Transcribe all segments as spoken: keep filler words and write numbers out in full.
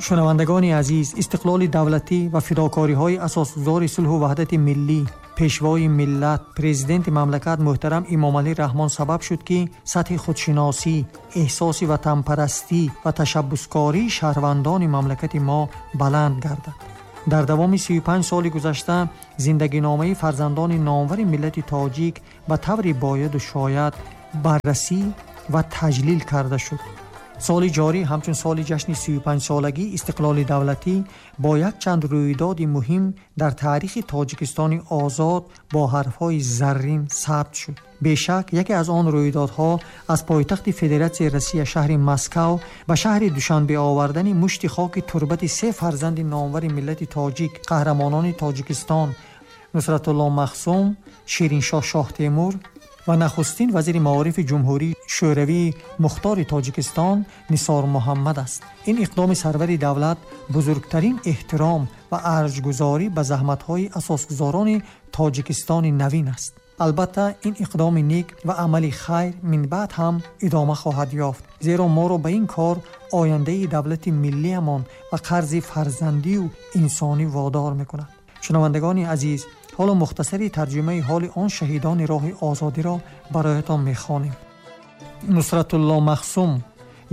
Шунавандагони азиз, истиқлоли давлатӣ ва фидокориҳои асосгузори сулҳу ваҳдати миллӣ, пешвои миллат, президенти мамлакат муҳтарам Эмомалӣ Раҳмон сабаб шуд, ки сатҳи худшиносӣ, эҳсоси ватанпарастӣ ва ташаббускории шаҳрвандони мамлакати мо баланд гардад. Дар давоми сию панҷ соли гузашта зиндагиномаи фарзандони номвари миллати тоҷик ба таври бояду шояд баррасӣ ва таҷлил карда шуд. Соли ҷорӣ ҳамчун соли ҷашни сию панҷсолагии истиқлоли давлатӣ бо якчанд рӯйдоди муҳим дар таърихи Тоҷикистони озод бо ҳарфҳои заррин сабт шуд. Бешак, яке аз он рӯйдодҳо аз пойтахти Федератсияи Россия шаҳри Москав ба шаҳри Душанбе овардани мушти хоки турбати се фарзанди номвари миллати тоҷик, қаҳрамонони Тоҷикистон Нусратулло Махсум, Шириншоҳ Шоҳтемур ва нахустин вазири маорифи Ҷумҳурии Шӯравии Мухтори Тоҷикистон Нисор Муҳаммад аст. Ин иқдоми сарвари давлат бузургтарин эҳтиром ва арҷгузорӣ ба заҳматҳои асосгузорони Тоҷикистони навин аст. Албатта, ин иқдоми нек ва амали хайр минбаъд ҳам идома хоҳад ёфт, зеро моро ба ин кор ояндаи давлати миллиамон ва қарзи фарзандию инсонӣ водор мекунад. Шунавандагони азиз, ҳоло мухтасари тарҷумаи ҳоли он шаҳидони роҳи озодиро бароятон мехонем. Нусратулло Махсум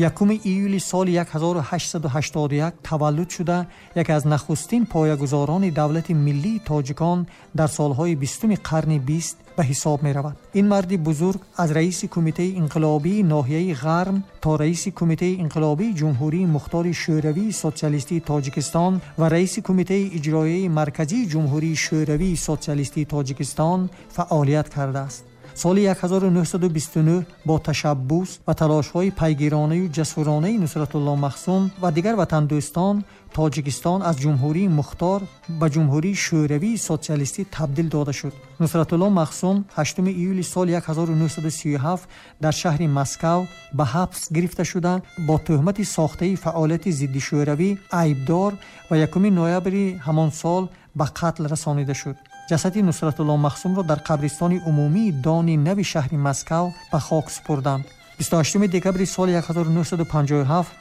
якуми июли соли ҳазору ҳаштсаду ҳаштоду як таваллуд шуда, яке аз нахустин поягузорони давлати миллии тоҷикон дар солҳои бистуми қарни бист ба ҳисоб меравад. Ин марди бузург аз раиси кумитаи инқилобии ноҳияи Ғарм то раиси кумитаи инқилобии Ҷумҳурии Мухтори Шӯравии Социалистии Тоҷикистон ва раиси кумитаи иҷроияи марказии Ҷумҳурии Шӯравии Социалистии Тоҷикистон фаъолият кардааст. Соли ҳазору нӯҳсаду бисту нӯҳ бо ташаббус ва талошҳои пайгиронаю ҷасуронаи Нусратулло Махсум ва дигар ватандӯстон Тоҷикистон аз Ҷумҳурии Мухтор ба Ҷумҳурии Шӯравии Социалистӣ табдил дода шуд. Нусратулло Махсум ҳаштуми июли соли ҳазору нӯҳсаду сию ҳафт дар шаҳри Москав ба ҳабс гирифта шуда, бо тӯҳмати сохтаи фаъолияти зиддишӯравӣ айбдор ва якуми ноябри ҳамон сол ба қатл расонида шуд. Ҷасади Нусратулло Махсумро дар қабристони умумии Дони нави шаҳри Москав ба хок супурданд. бисту ҳаштуми декабри соли ҳазору нӯҳсаду панҷоҳу ҳафт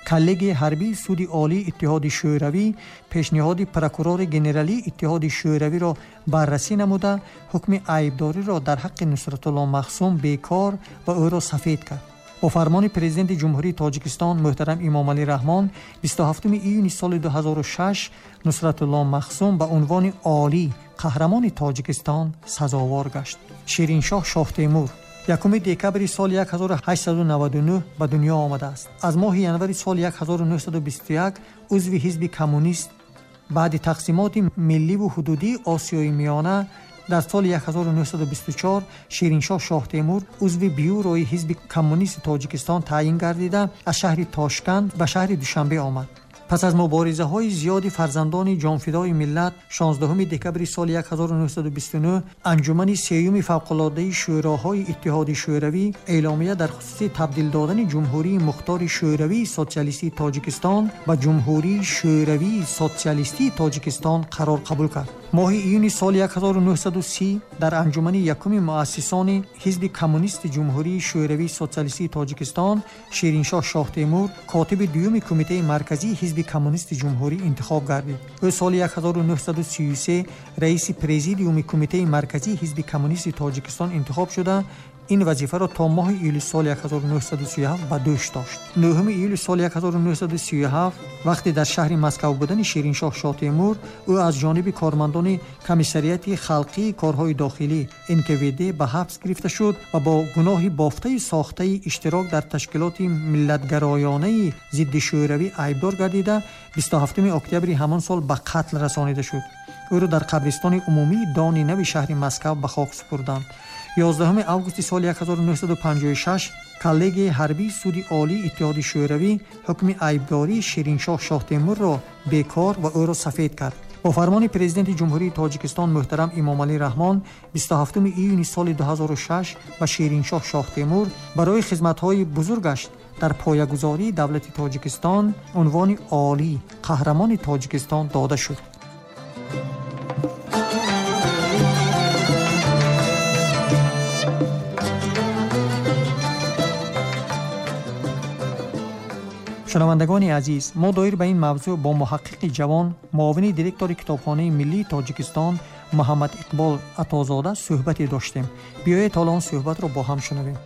коллегияи ҳарбии Суди Олии Иттиҳоди Шӯравӣ пешниҳоди прокурори генералии Иттиҳоди Шӯравиро баррасӣ намуда, ҳукми айбдориро дар ҳаққи Нусратулло Махсум бекор ва ӯро сафед кард. Бо фармони президенти Ҷумҳурии Тоҷикистон муҳтарам Эмомалӣ Раҳмон бисту ҳафтуми июни соли ду ҳазору шаш Нусратулло Махсум ба унвони олӣ қаҳрамони Тоҷикистон сазовор гашт. Шириншоҳ Шоҳтемур якуми декабри соли ҳазору ҳаштсаду наваду нӯҳ ба дунё омадааст. Аз моҳи январи соли ҳазору нӯҳсаду бисту як узви ҳизби коммунист, баъди тақсимоти милливу ҳудудии Осиёи Миёна дар соли ҳазору нӯҳсаду бисту чор Шириншоҳ Шоҳтемур узви бюрои ҳизби коммунисти Тоҷикистон таъйин гардида, аз шаҳри Тошканд ба шаҳри Душанбе омад. Пас аз муборизаҳои зиёди фарзандони ҷонфидои миллат шонздаҳуми декабри соли ҳазору нӯҳсаду бисту нӯҳ анҷумани сеюми фавқулодаи шӯроҳои Иттиҳоди Шӯравӣ эъломия дар хусуси табдил додани Ҷумҳурии Мухтори Шӯравии Социалистии Тоҷикистон ба Ҷумҳурии Шӯравии Социалистии Тоҷикистон қарор қабул кард. Моҳи июни соли ҳазору нӯҳсаду си дар анҷумани якуми муассисони ҳизби коммунисти Ҷумҳурии Шӯравии Социалистии Тоҷикистон Шириншоҳ Шоҳтемур котиби дуюми кумитаи марказии ҳизби коммунисти ҷумҳурӣ интихоб гардид. Ӯ соли ҳазору нӯҳсаду сию се раиси президиуми кумитаи марказии ҳизби коммунисти Тоҷикистон интихоб шуда, ин вазифаро то моҳи июли соли ҳазору нӯҳсаду сию ҳафт ба дӯш дошт. нӯҳуми июли соли ҳазору нӯҳсаду сию ҳафт вақте дар шаҳри Москав будани Шириншоҳ Шоҳтемур ӯ аз ҷониби кормандони комиссариати халқии корҳои дохилӣ эн ка вэ дэ ба ҳабс гирифта шуд ва бо гуноҳи бофтаи сохтаи иштирок дар ташкилоти миллатгароёнаи зидди шӯравӣ айбдор гардида, бисту ҳафтуми октябри ҳамон сол ба қатл расонида шуд. Ӯро дар қабристони умумии Дони нави шаҳри Москав ба хок супурданд. ёздаҳуми августи соли ҳазору нӯҳсаду панҷоҳу шаш коллегияи ҳарбии Суди Олии Иттиҳоди Шӯравӣ ҳукми айбдории Шириншоҳ Шоҳтемурро бекор ва ӯро сафед кард. Бо фармони президенти Ҷумҳурии Тоҷикистон муҳтарам Эмомалӣ Раҳмон бисту ҳафтуми июни соли ду ҳазору шаш ба Шириншоҳ Шоҳтемур барои хизматҳои бузургаш дар поягузории давлати Тоҷикистон унвони олӣ қаҳрамони Тоҷикистон дода шуд. Шунавандагони азиз, мо доир ба ин мавзӯъ бо муҳаққиқи ҷавон, муовини директори Китобхонаи миллии Тоҷикистон Муҳаммад Иқбол Атозода суҳбате доштем. Биёед ҳоло он суҳбатро бо ҳам шунавем.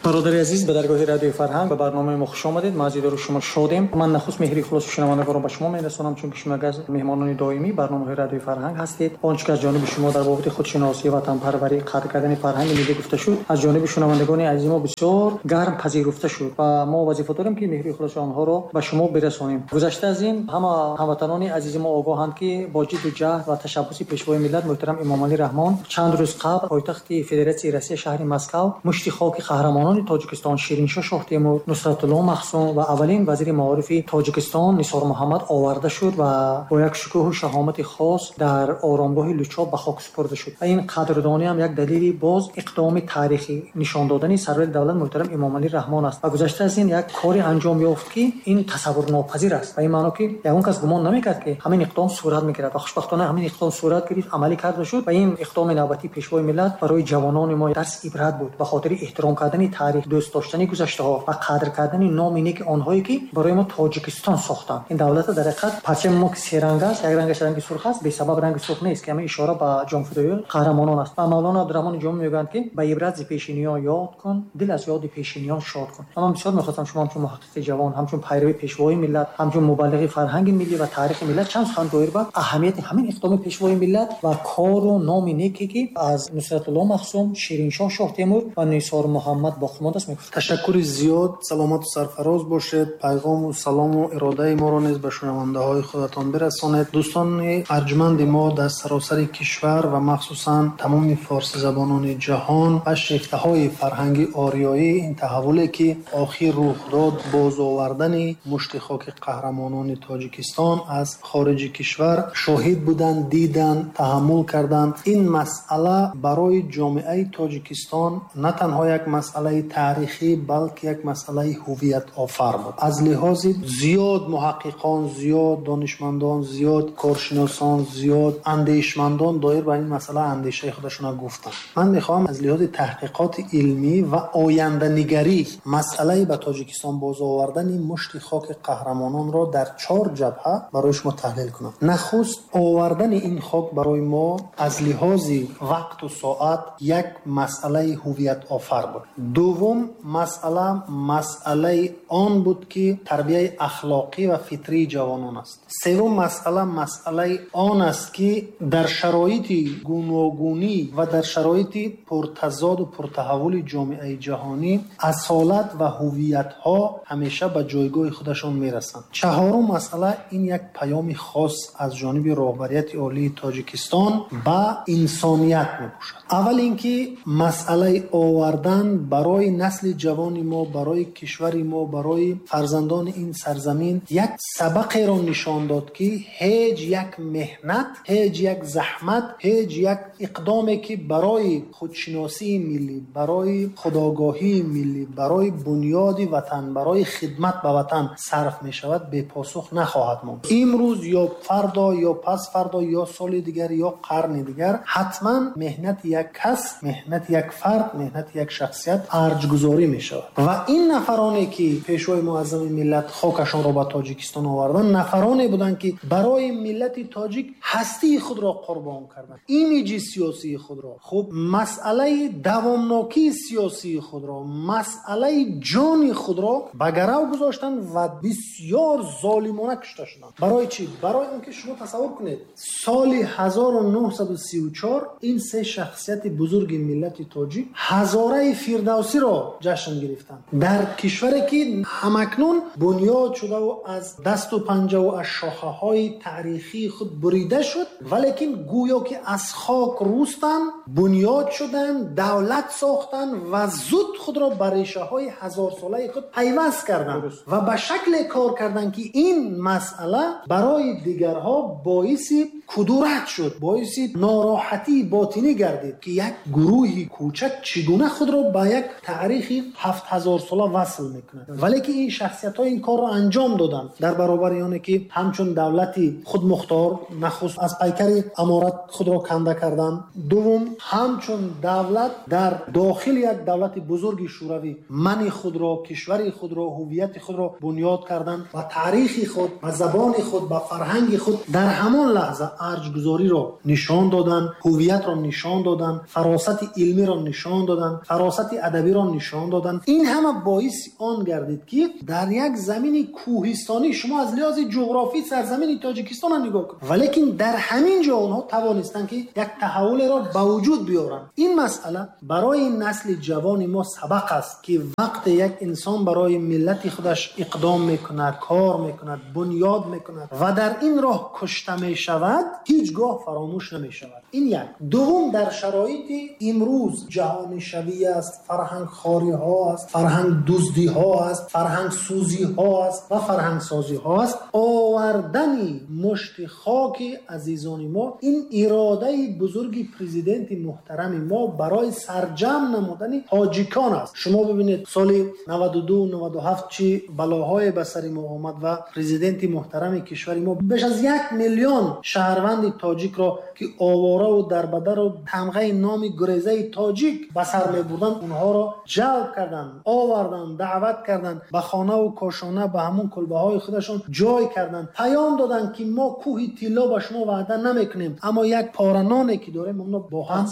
Бародари азиз, ба даргоҳи радиои фарҳанг ба барномаи мо хуш омадед. Мо аз дидори шумо шодем. Ман нахуст меҳри хулоси шунавандагонро ба шумо мерасонам, чунки шумо яке аз меҳмонони доимии барномаҳои радиои фарҳанг ҳастед. Он чӣ ки аз ҷониби шумо дар бобати худшиносӣ, ватанпарварӣ, қадр кардани фарҳанги миллӣ гуфта шуд, аз ҷониби шунавандагони азизи мо бисёр гарм пазируфта шуд ва мо вазифа дорем, ки меҳри хулоси онҳоро ба шумо бирасонем. Гузашта аз ин, ҳама ҳамватанони азизи мо огоҳанд, ки бо ҷидду ҷаҳд ва ташаббуси пешвои миллат муҳтарам Эмомалӣ Раҳмон чанд рӯз қабл пойтахти Федератсияи Россия, шаҳри Москав, мушти хоки қаҳрамонони Тоҷикистон Шириншоҳ Шоҳтемур, Нусратулло Махсум ва аввалин вазири маорифи Тоҷикистон Нисор Муҳаммад оварда шуд ва бо як шукӯҳу шаҳомати хос дар оромгоҳи Лучоб ба хок супурда шуд. Ва ин қадрдонӣ ҳам як далели боз иқдоми таърихӣ нишон додани сарвари давлат муҳтарам Эмомалӣ Раҳмон аст. Ва гузашта аз ин як кори анҷом ёфт, ки ин тасаввурнопазир аст. Ва ин маъно, ки ягон кас гумон намекард, ки ҳамин иқдом сурат мегирад ва хушбахтона ҳамин иқдом сурат гирифт, амалӣ карда шуд. Ва ин иқдоми навбатии пешвои миллат барои ҷавонони мо дарси ибрат буд ба хотири эҳтиром кардани таърих, дӯст доштани гузаштаҳо ва қадр кардани номи неки онҳое, ки барои мо Тоҷикистон сохтанд. Ин давлата дар ҳақиқат парчами мо ки се ранг аст, як рангаш ранги сурх аст, бесабаб ранги сурх нест, ки ҳамин ишора ба ҷонфидоии қаҳрамонон аст. Ва Мавлоно Абдураҳмони Ҷомӣ мегӯянд, ки ба ибрат зи пешиниён ёд кун, дил аз ёди пешиниён шод кун. Ва ман бисёр мехостам шумо ҳамчун муҳаққиқи ҷавон, ҳамчун пайрави пешвои миллат, ҳамчун мубаллиғи фарҳанги миллӣ ва таърихи миллат чанд сухан доир ба аҳамияти ҳамин иқдоми пешвои миллат ва кору номи неке, ки аз Нусратулло Махсум, Шириншоҳ Шоҳтемур ва Нисор Муҳаммад боқӣ мондааст, мегуфт. Ташаккури зиёд, саломату сарфароз бошед. Пайғому салому иродаи моро низ ба шунавандаҳои худатон бирасонед. Дӯстони арҷманди мо дар саросари кишвар ва махсусан тамоми форсизабонони ҷаҳон ва шефтаҳои фарҳанги ориёӣ, ин таҳаввуле ки охир рух дод, бозовардани мушти хоки қаҳрамонони Тоҷикистон аз хориҷи кишвар шоҳид буданд, диданд, таҳаммул карданд. Ин масъала барои ҷомеаи Тоҷикистон на танҳо як масъалаи таърихӣ, балки як масъалаи ҳувиятофар буд. Аз лиҳози зиёд муҳаққиқон, зиёд донишмандон, зиёд коршиносон, зиёд андешмандон доир ба ин масъала андешаи худашонро гуфтанд. Ман мехоҳам аз лиҳози таҳқиқоти илмӣ ва оянданигарӣ масъалаи ба Тоҷикистон бозовардани мушти хоки қаҳрамононро дар чор ҷабҳа барои шумо таҳлил кунам. Нахуст, овардани ин хок барои мо аз лиҳози вақту соат як масъалаи ҳувиятофар буд. Дуввум масъала масъалаи он буд, ки тарбияи ахлоқӣ ва фитрии ҷавонон аст. Севум масъала масъалаи он аст, ки дар шароити гуногунӣ ва дар шароити пуртазоду пуртаҳаввули ҷомеаи ҷаҳонӣ асолат ва ҳувиятҳо ҳамеша ба ҷойгоҳи худашон мерасанд. Чаҳорум масъала ин як паёми хос аз ҷониби роҳбарияти олии Тоҷикистон ба инсоният мебошад. Аввал ин ки масъалаи овардан барои насли ҷавони мо, барои кишвари мо, барои фарзандони ин сарзамин як сабақеро нишон дод, ки ҳеҷ як меҳнат, ҳеҷ як заҳмат, ҳеҷ як иқдоме, ки барои худшиносии миллӣ, барои худогоҳии миллӣ, барои бунёди ватан, барои хидмат ба ватан сарф мешавад, бепосух нахоҳад монд. Имрӯз ё фардо ё пасфардо ё соли дигар ё қарни дигар ҳатман меҳнати як кас, меҳнати як фард, меҳнати як шахсият арҷгузорӣ мешавад. Ва ин нафароне, ки пешвои муаззами миллат хокашонро ба Тоҷикистон оварданд, нафароне буданд, ки барои миллати тоҷик ҳастии худро қурбон карданд, имиҷи сиёсии худро, хуб масъалаи давомнокии сиёсии худро, масъалаи ҷони худро ба гарав гузоштанд ва бисёр золимона кушта шуданд. Барои чӣ? Барои он ки шумо тасаввур кунед, соли ҳазору нӯҳсаду сию чор ин се шахсияти бузурги миллати тоҷик ҳазораи фирдавсиро ҷашн гирифтанд дар кишваре, ки ҳамакнун бунёд шудаву аз дасту панҷаву аз шохаҳои таърихии худ бурида шуд, валекин гӯё ки аз хок рӯстанд, бунёд шуданд, давлат сохтанд ва зуд худро ба решаҳои ҳазорсолаи худ пайваст карданд ва ба шакле кор карданд, ки ин масъала барои дигарҳо боиси кудурат шуд, боиси нороҳатии ботинӣ гардид ки як гурӯҳи кӯчак чӣ гуна худро ба як таърихи ҳафт ҳазор сола васл мекунад. Вале ки ин шахсиятҳо ин корро анҷом доданд дар баробари оне ки ҳамчун давлати худмухтор нахуст аз пайкари аморат худро канда карданд, дуввум ҳамчун давлат дар дохили як давлати бузурги шӯравӣ мани худро, кишвари худро, ҳувияти худро бунёд карданд ва таърихи худ, ба забони худ, ба фарҳанги худ дар ҳамон лаҳза арҷгузориро нишон доданд, ҳувиятро нишон доданд, фаросати илмиро нишон доданд, фаросати адабиро нишон доданд. Ин ҳама боиси он гардид ки дар як замини кӯҳистонӣ, шумо аз лиҳози ҷуғрофӣ сарзамини Тоҷикистонро нигоҳ кунед, валекин дар ҳамин ҷо онҳо тавонистанд ки як таҳаввулеро ба вуҷуд биёранд. Ин масъала барои насли ҷавони мо сабақ аст ки вақте як инсон барои миллати худаш иқдом мекунад, кор мекунад, бунёд мекунад ва дар ин роҳ кушта мешавад, ҳеҷ гоҳ фаромӯш намешавад. Ин як. Дуввум, дар шароити имрӯз ҷаҳонишавӣ аст, фарҳангхориҳо аст, фарҳангдуздиҳо аст, фарҳангсӯзиҳо аст ва фарҳангсозиҳо аст. Овардани мушти хоки азизони мо, ин иродаи бузурги президенти муҳтарами мо барои сарҷамъ намудани тоҷикон аст. Шумо бибинед соли наваду ду наваду ҳафт чӣ балоҳое ба сари мо омад ва президенти муҳтарами кишвари мо беш аз як миллион шаҳрванди тоҷикро ки овора ва дарбадару тамғаи номи гурезаи тоҷик ба сар мебурданд, онҳоро ҷалб карданд, оварданд, даъват карданд, ба хонаву кошона, ба ҳамон кулбаҳои худашон ҷой карданд, паём доданд ки мо кӯҳи тилло ба шумо ваъда намекунем, аммо як пора ноне ки дорем онро бо ҳам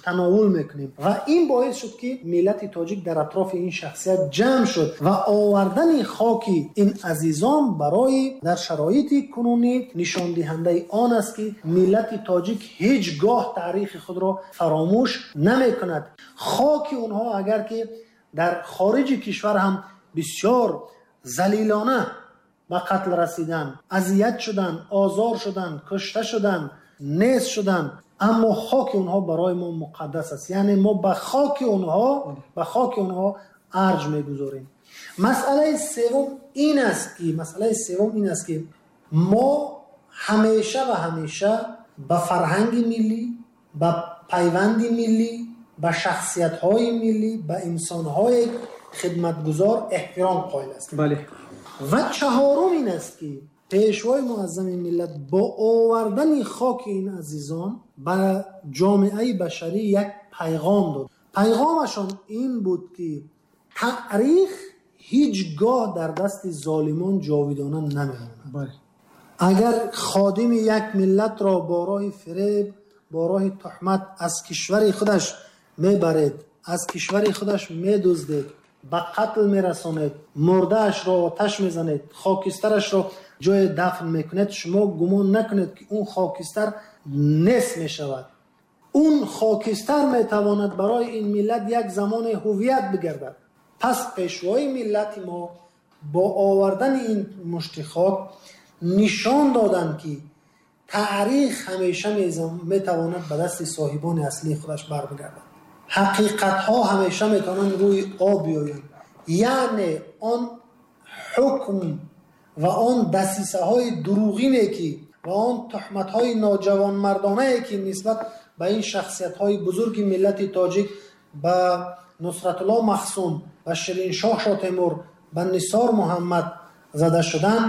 тановул мекунем. Ва ин боис шуд ки миллати тоҷик дар атрофи ин шахсият ҷамъ шуд ва овардани хоки ин азизон барои дар шароити кунунӣ нишондиҳандаи он аст ки миллати тоҷик ҳеҷ гоҳ таърихи худро фаромӯш намекунад. Хоки онҳо агар ки дар хориҷи кишвар ҳам бисёр залилона ба қатл расиданд, азият шуданд, озор шуданд, кушта шуданд, нест шуданд, аммо хоки онҳо барои мо муқаддас аст. Яъне мо ба хоки онҳо, ба хоки онҳо арҷ мегузорем. Масъалаи севум ин аст ки масъалаи севум ин аст ки мо ҳамеша ва ҳамеша ба фарҳанги миллӣ, ба пайванди миллӣ, ба шахсиятҳои миллӣ, ба инсонҳои хидматгузор эҳтиром қоил ҳастем. Бале. Ва чаҳорум ин аст ки пешвои муаззами миллат бо овардани хоки ин азизон ба ҷомеаи башарӣ як пайғом дод. Пайғомашон ин буд ки таърих ҳеҷ гоҳ дар дасти золимон ҷовидона намемонад. Бале. Агар ходими як миллатро бо роҳи фиреб, бо роҳи туҳмат аз кишвари худаш мебаред, аз кишвари худаш медуздед, ба қатл мерасонед, мурдаашро оташ мезанед, хокистарашро ҷои дафн мекунед, шумо гумон накунед ки он хокистар нест мешавад. Он хокистар метавонад барои ин миллат як замони ҳувият бигардад. Пас пешвои миллати мо бо овардани ин мушти хок нишон доданд ки таърих ҳамеша метавонад ба дасти соҳибони аслии худаш барбигардад. Ҳақиқатҳо ҳамеша метавонанд рӯи об биёянд. Яъне он ҳукм ва он дасисаҳои дурӯғине ки ва он туҳматҳои ноҷавонмардонае ки нисбат ба ин шахсиятҳои бузурги миллати тоҷик, ба Нусратулло Махсум, ба Шириншоҳ Шотемур, ба Нисор Муҳаммад зада шуданд,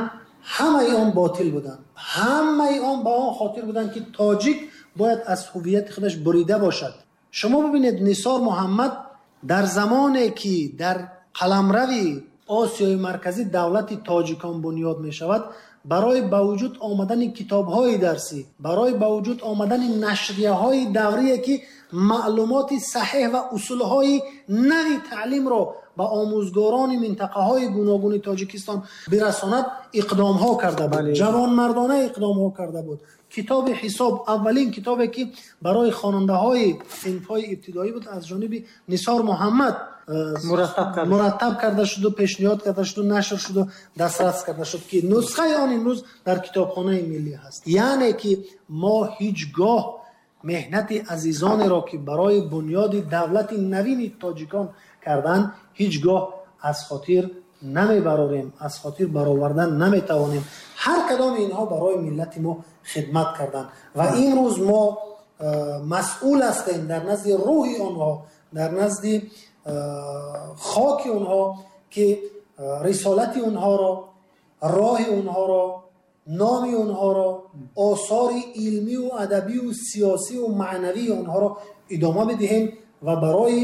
ҳамаи он ботил буданд. Ҳамаи он ба он хотир буданд ки тоҷик бояд аз ҳувияти худаш бурида бошад. Шумо бибинед, Нисор Муҳаммад дар замоне ки дар қаламрави Осиёи Марказӣ давлати тоҷикон бунёд мешавад, барои ба вуҷуд омадани китобҳои дарсӣ, барои ба вуҷуд омадани нашрияҳои даврие ки маълумоти саҳеҳ ва усулҳои нави таълимро ба омӯзгорони минтақаҳои гуногуни Тоҷикистон бирасонад, иқдомҳо карда буд. Ҷавонмардона иқдомҳо карда буд. Китоби ҳисоб, аввалин китобе ки барои хонандаҳои синфҳои ибтидоӣ буд, аз ҷониби Нисор Муҳаммад мураттаб карда шуду, пешниҳод карда шуду, нашр шуду, дастрас карда шуд ки нусхаи он имрӯз дар китобхонаи миллӣ ҳаст. Яъне ки мо ҳеҷ гоҳ меҳнати азизонеро ки барои бунёди давлати навини тоҷикон карданд, ҳеҷ гоҳ аз хотир намебарорем, аз хотир баровардан наметавонем. Ҳар кадоми инҳо барои миллати мо хидмат карданд ва имрӯз мо масъул ҳастем дар назди рӯҳи онҳо, дар назди хоки онҳо, ки рисолати онҳоро, роҳи онҳоро, номи онҳоро, осори илмӣ ва адабӣ ва сиёсӣ ва маънавии онҳоро идома бидиҳем ва барои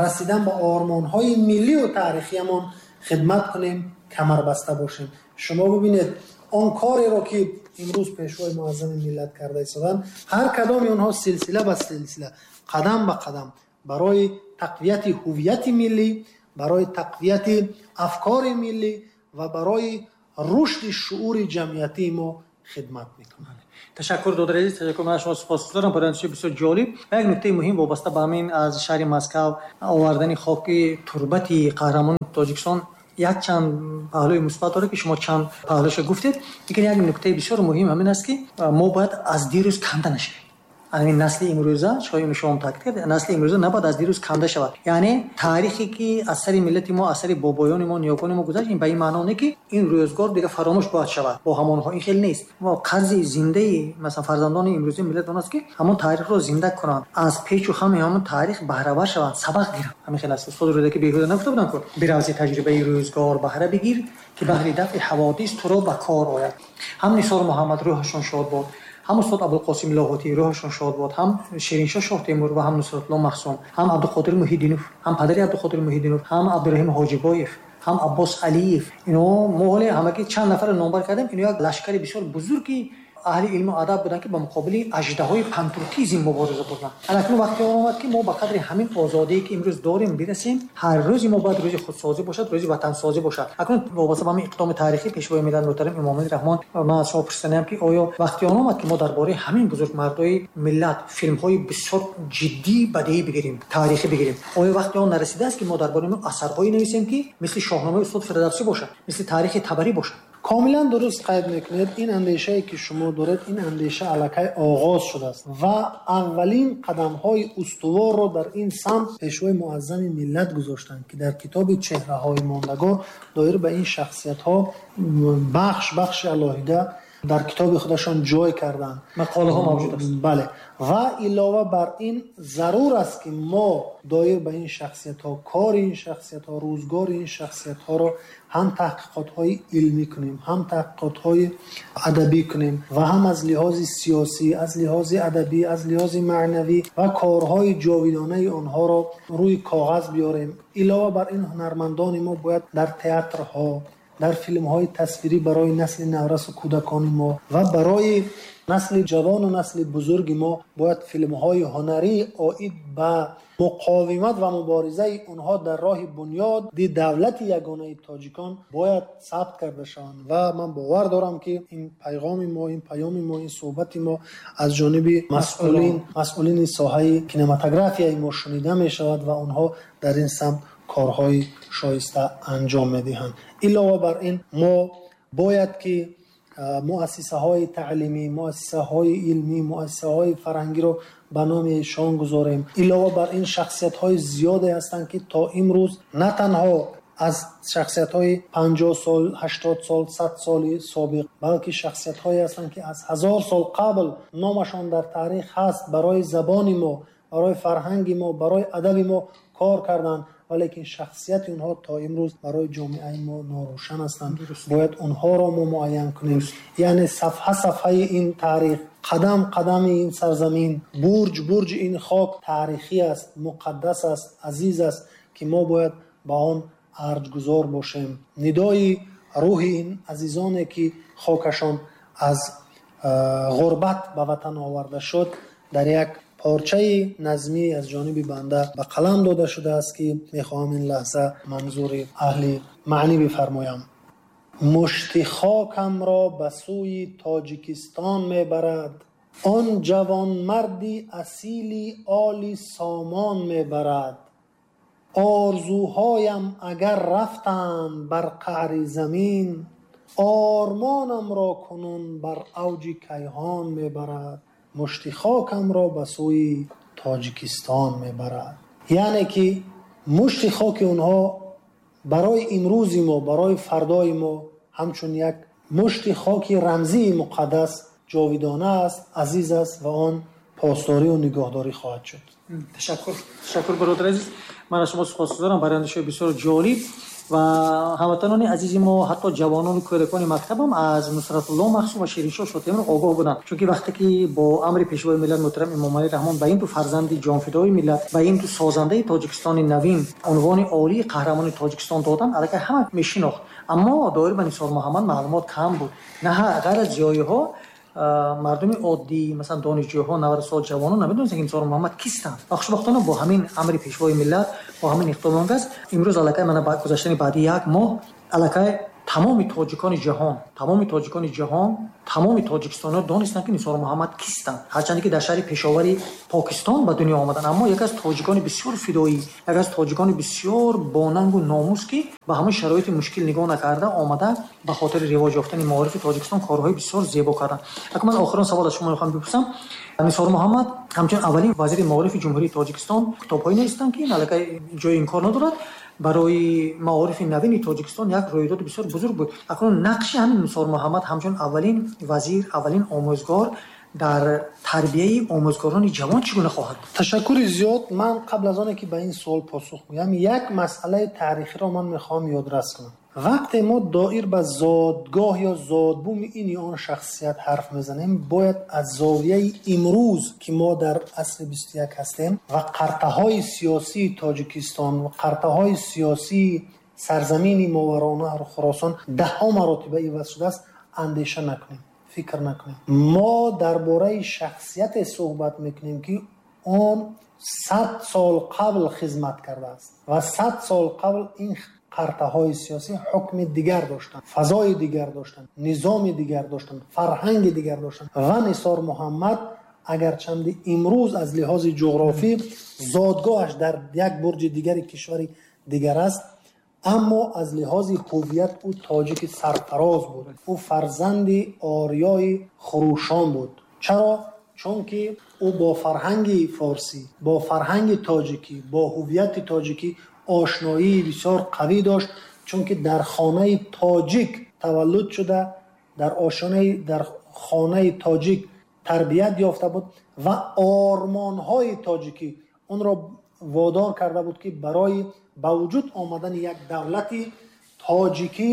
расидан ба ормонҳои миллӣ ва таърихиямон хидмат кунем, камарбаста бошем. Шумо бибинед он кореро ки имрӯз пешвои муаззами миллат карда истоданд, ҳар кадоми онҳо силсила ба силсила, қадам ба қадам барои тақвияти ҳувияти миллӣ, барои тақвияти афкори миллӣ ва барои рушди шуури ҷамъиятии мо хидмат мекунанд. Ташаккур додари азиз, ташаккур. Ман шумо сипосгузорам барои ин бисёр ҷолиб. Ва як нуктаи муҳим вобаста ба ҳамин аз шаҳри Москва овардани хоки турбати қаҳрамони Тоҷикистон як чанд паҳлӯи мусбат дорад, ки шумо чанд паҳлӯшро гуфтед. Лекин як нуктаи бисёр муҳим ҳамин аст, ки мо бояд аз дирӯз канда нашавем. Ҳамин насли имрӯза, шояд шумо ҳам таъкид кардед, насли имрӯза набояд аз дирӯз канда шавад. Яъне таърихе ки аз сари миллати мо, аз сари бобоёни мо, ниёгони мо гузашт, ин ба ин маъно не, ки ин рӯзгор дигар фаромӯш бояд шавад бо ҳамонҳо. Ин хеле нест. Мо қарзи зиндаи масалан фарзандони имрӯзаи миллат он аст, ки ҳамон таърихро зинда кунанд, аз печу хами ҳамон таърих баҳравар шаванд, сабақ гиранд. Ҳамин хел аст. Устод Рӯдакӣ беҳуда нагуфта буданд, ки биравзи таҷрибаи рӯзгор баҳра бигир, ки баҳри дафъи ҳаводис туро ба кор ояд. Ҳам Нисор Муҳаммад рӯҳашон шод бод, ҳам устод Абулқосим Лоҳутӣ рӯҳашон шод бод, ҳам Шириншоҳ Шоҳтемур ва ҳам Нусратулло Махсум, ҳам Абдуқодир Муҳиддинов, ҳам падари Абдуқодир Муҳиддинов, ҳам Абдураҳим Ҳоҷибоев, ҳам Аббос Алиев. Ино мо ҳоле ҳамагӣ чанд нафарро номбар кардем, ино як лашкари бисёр бузурги аҳли илму адаб буданд, ки ба муқобили аждаҳои пантуркизм мубориза бурданд. Акнун вақти он омад, ки мо ба қадри ҳамин озодие, ки имрӯз дорем, бирасем. Ҳар рӯзи мо бояд рӯзи худсозӣ бошад, рӯзи ватансозӣ бошад. Акнун вобаста ба ҳамин иқдоми таърихӣ пешвои миллат муҳтарам Эмомалӣ Раҳмон, ман аз шумо пурсидаам, ки оё вақти он омад, ки мо дар бораи ҳамин бузургмардои миллат филмҳои бисёр ҷиддӣ бадеӣ бигирем, таърихӣ бигирем? Оё вақти он нарасидааст, ки мо дар бораи асарҳое нависем, ки мисли Шоҳномаи устод Фирдавсӣ бошад, мисли таърихи Табарӣ бошад? Комилан дуруст қайд мекунед. Ин андешае ки шумо доред, ин андеша аллакай оғоз шудааст ва аввалин қадамҳои устуворро дар ин самт пешвои муаззами миллат гузоштанд, ки дар китоби чеҳраҳои мондагор доир ба ин шахсиятҳо бахш бахши алоҳида дар китоби худашон ҷой карданд. Мақолаҳо мавҷуд аст. Бале. Ва илова бар ин зарур аст, ки мо доир ба ин шахсиятҳо, кори ин шахсиятҳо, рӯзгори ин шахсиятҳоро ҳам таҳқиқотҳои илмӣ кунем, ҳам таҳқиқотҳои адабӣ кунем ва ҳам аз лиҳози сиёсӣ, аз лиҳози адабӣ, аз лиҳози маънавӣ ва корҳои ҷовидонаи онҳоро рӯи коғаз биёрем. Илова бар ин ҳунармандони мо бояд дар театрҳо, дар филмҳои тасвирӣ барои насли наврасу кӯдакони мо ва барои насли ҷавону насли бузурги мо бояд филмҳои ҳунарӣ оид ба муқовимат ва муборизаи онҳо дар роҳи бунёди давлати ягонаи тоҷикон бояд сабт карда шаванд. Ва ман бовар дорам, ки ин пайғоми мо, ин паёми мо, ин суҳбати мо аз ҷониби масъулин, масъулини соҳаи кинематографияи мо шунида мешавад ва онҳо дар ин самт корҳои шоиста анҷом медиҳанд. Илова бар ин мо бояд ки муассисаҳои таълимӣ, муассисаҳои илмӣ, муассисаҳои фарҳангиро ба номи эшон гузорем. Илова бар ин шахсиятҳои зиёде ҳастанд, ки то имрӯз на танҳо аз шахсиятҳои панҷоҳ сол, ҳаштод сол, сад соли собиқ, балки шахсиятҳое ҳастанд, ки аз ҳазор сол қабл номашон дар таърих ҳаст, барои забони мо, барои фарҳанги мо, барои адаби мо кор карданд, валекин шахсияти онҳо то имрӯз барои ҷомеаи мо норӯшан ҳастанд. Бояд онҳоро мо муайян кунем. Яъне сафҳа сафҳаи ин таърих, қадам қадами ин сарзамин, бурҷ бурҷи ин хок таърихӣ аст, муқаддас аст, азиз аст, ки мо бояд ба он арҷгузор бошем. Нидои рӯҳи ин азизоне, ки хокашон аз ғурбат ба ватан оварда шуд, дар як порчаи назмӣ аз ҷониби банда ба қалам дода шудааст, ки мехоҳам ин лаҳза манзури аҳли маънӣ бифармоям. Мушти хокамро ба сӯи Тоҷикистон мебарад, он ҷавонмарди асили оли сомон мебарад. Орзуҳоям агар рафтанд бар қаъри замин, ормонамро кунун бар авҷи кайҳон мебарад. Мушти хокамро ба сӯи Тоҷикистон мебарад. Яъне ки мушти хоки онҳо Барои имрӯзи мо, барои фардои мо ҳамчун як мушти хоки рамзии муқаддас ҷовидона аст, азиз аст ва он посдорӣ ва нигоҳдорӣ хоҳад шуд. Ташаккур, ташаккур бародари азиз. Ман аз шумо сипосгузорам барои андешаҳои бисёр ҷолиб ва ҳамватанони азизи мо, ҳатто ҷавонон ва кӯдакони мактаб ҳам аз Нусратулло Маҳсум ва Шириншоҳ Шотемур огоҳ буданд. Чунки вақте ки бо амри Пешвои миллат муҳтарам Эмомалӣ Раҳмон ба ин ду фарзанди ҷонфидои миллат, ба ин ду созандаи Тоҷикистони навин унвони олии қаҳрамони Тоҷикистон доданд, аллакай ҳама мешинохт. Аммо доир ба Нисор Муҳаммад маълумот кам буд. На ғайр аз зиёиҳо, мардуми оддӣ, масалан донишҷӯҳо, наврасол, ҷавонон намедонистанд, ки Нисор Муҳаммад кистанд. Ва хушбахтона бо ҳамин амри Пешвои миллат, бо ҳамин иқдом он аст, имрӯз аллакай мана гузаштани баъди як моҳ аллакай тамоми тоҷикони ҷаҳон, тамоми тоҷикони ҷаҳон, тамоми тоҷикистониҳо донистанд, ки Нисор Муҳаммад кистанд. Ҳарчанде ки дар шаҳри Пешовари Покистон ба дунё омаданд, аммо яке аз тоҷикони бисёр фидоӣ, яке аз тоҷикони бисёр бонангу номус, ки ба ҳамон шароити мушкил нигоҳ накарда омада ба хотири ривоҷ ёфтани маорифи Тоҷикистон корҳои бисёр зебо карданд. Акнун ман охирон савол аз шумо мехоҳам бипурсам. Нисор Муҳаммад ҳамчун аввалин вазири маорифи Ҷумҳурии Тоҷикистон китобҳое навиштанд, ки ин аллакай ҷои инкор надорад, барои маорифи навини Тоҷикистон як рӯйдоди бисёр бузург буд. Акнун нақши ҳамин Нисор Муҳаммад ҳамчун аввалин вазир, аввалин омӯзгор дар тарбияи омӯзгорони ҷавон чӣ гуна хоҳад буд? Ташаккури зиёд. Ман қабл аз оне ки ба ин суол посух гӯям, як масъалаи таърихиро ман мехоҳам ёдрас кунам. Вақте мо доир ба зодгоҳ ё зодбуми ин ё он шахсият ҳарф мезанем, бояд аз зовияи имрӯз, ки мо дар асри бисту як ҳастем ва қартаҳои сиёсии Тоҷикистон ва қартаҳои сиёсии сарзамини Мовароуннаҳр Хуросон даҳҳо маротиба иваз шудааст, андеша накунем, фикр накунем. Мо дар бораи шахсияте суҳбат мекунем, ки он сад сол қабл хизмат кардааст ва сад сол қабл ин қартаҳои сиёсӣ ҳукми дигар доштанд, фазои дигар доштанд, низоми дигар доштанд, фарҳанги дигар доштанд. Ва Нисор Муҳаммад агарчанди имрӯз аз лиҳози ҷуғрофӣ зодгоҳаш дар як бурҷи дигари кишвари дигар аст, аммо аз лиҳози ҳувият ӯ тоҷики сарфароз буд. Ӯ фарзанди ориёи хурӯшон буд. Чаро? Чунки ӯ бо фарҳанги форсӣ, бо фарҳанги тоҷикӣ, бо ҳувияти тоҷикӣ ошноии бисёр қавӣ дошт, чунки дар хонаи тоҷик таваллуд шуда, дар ошонаи, дар хонаи тоҷик тарбият ёфта буд ва ормонҳои тоҷикӣ онро водор карда буд, ки барои ба вуҷуд омадани як давлати тоҷикӣ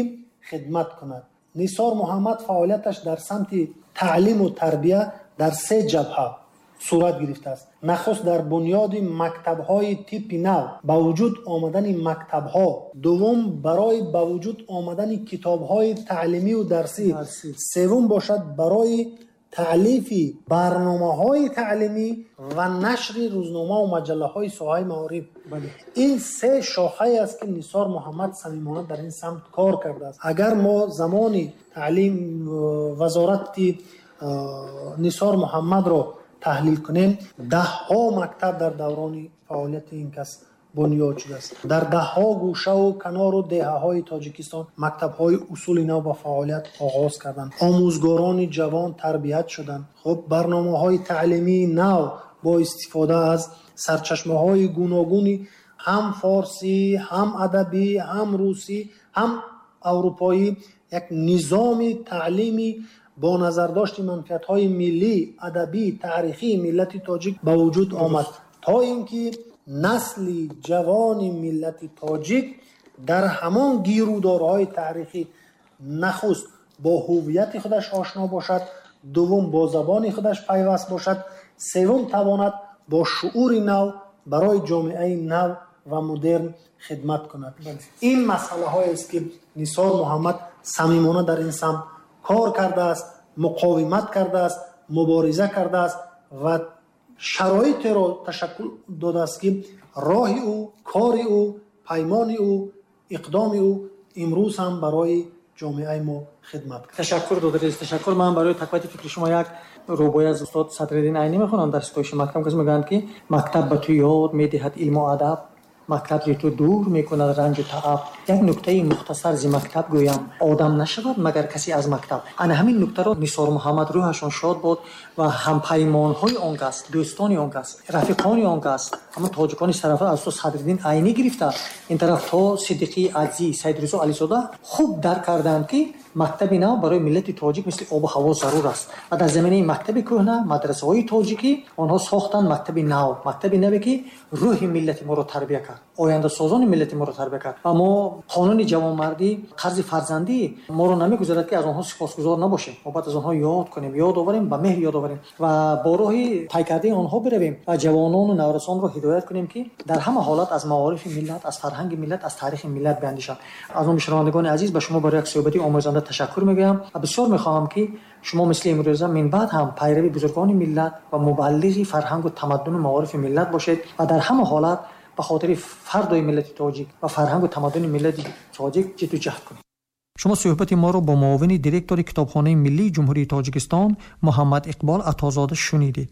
хидмат кунад. Нисор Муҳаммад фаъолияташ дар самти таълиму тарбия дар се ҷабҳа сурат гирифтааст. Нахуст дар бунёди мактабҳои типи нав, ба вуҷуд омадани мактабҳо. Дуввум барои ба вуҷуд омадани китобҳои таълимию дарсӣ. Севум бошад барои таълифи барномаҳои таълимӣ ва нашри рӯзномаву маҷаллаҳои соҳаи маориф. Ин се шохае аст, ки Нисор Муҳаммад самимона дар ин самт кор кардааст. Агар мо замони таълим вазорати Нисор Муҳаммадро таҳлил кунем, даҳҳо мактаб дар даврони фаъолияти ин кас бунёд шудааст. Дар даҳҳо гӯшаву канору деҳаҳои Тоҷикистон мактабҳои усули нав ба фаъолият оғоз карданд. Омӯзгорони ҷавон тарбият шуданд. Хуб, барномаҳои таълимии нав бо истифода аз сарчашмаҳои гуногуни ҳам форсӣ, ҳам адабӣ, ҳам русӣ, ҳам аврупоӣ як низоми таълимӣ бо назардошти манфиатҳои миллӣ, адабӣ, таърихии миллати тоҷик ба вуҷуд омад, то ин ки насли ҷавони миллати тоҷик дар ҳамон гирудорҳои таърихӣ нахуст бо ҳувияти худаш ошно бошад, дуввум бо забони худаш пайваст бошад, севум тавонад бо шуури нав барои ҷомеаи нав ва модерн хидмат кунад. Ин масъалаҳоест, ки Нисор Муҳаммад самимона дар ин самт кор кардааст, муқовимат кардааст, мубориза кардааст ва шароитеро ташаккул додааст, ки роҳи ӯ, кори ӯ, паймони ӯ, иқдоми ӯ имрӯз ҳам барои ҷомеаи мо хидмат кард. Ташаккур, додари азиз, ташаккур. Ман барои тақвияти фикри шумо як рубоӣ аз устод Садриддин Айнӣ мехонам дар ситоиши мактаб. Кас мегӯянд, ки мактаб ба ту ёд медиҳад илму адаб, Мактаб зи ту дур мекунад ранҷу тааб. Як нуктаи мухтасар зи мактаб гӯям, одам нашавад магар касе аз мактаб. Ана ҳамин нуктаро Нисор Муҳаммад рӯҳашон шод бод ва ҳампаймонҳои он кас, дӯстони он кас, рафиқони он кас, ҳамон тоҷикони сарафроз аз устод Садриддин Айнӣ гирифта ин тараф то Сиддиқии Аҷзӣ, Саид Ризо Ализода хуб дарк карданд, ки мактаби нав барои миллати тоҷик мисли обу ҳаво зарур аст ва дар заминаи мактаби кӯҳна, мадрасаҳои тоҷикӣ, онҳо сохтанд мактаби нав, мактаби наве, ки рӯҳи миллати моро тарбия кард, ояндасозони миллати моро тарбия кард. Ва мо қонуни ҷавонмардӣ, қарзи фарзандӣ моро намегузарад, ки аз онҳо сипосгузор набошем. Мо бояд аз онҳо ёд кунем, ёд оварем, ба меҳр ёд оварем ва бо роҳи тай кардаи онҳо биравем ва ҷавонону наврасонро ҳидоят кунем, ки дар ҳама ҳолат аз маорифи миллат, аз фарҳанги миллат, аз таърихи миллат биандешанд. Аз номи шунавандагони азиз ба шумо барои як суҳбати омӯзанда ташаккур мегӯям ва бисёр мехоҳам, ки шумо мисли имрӯза минбаъд ҳам пайрави бузургони миллат ва мубаллиғи фарҳангу тамаддуну маорифи миллат бошед ва дар ҳама ҳолат ба хотири фардои миллати тоҷик ва фарҳангу тамаддуни миллати тоҷик ҷидду ҷаҳд кунед. Шумо суҳбати моро бо муовини директори Китобхонаи миллии Ҷумҳурии Тоҷикистон Муҳаммад Иқбол Атозода шунидед.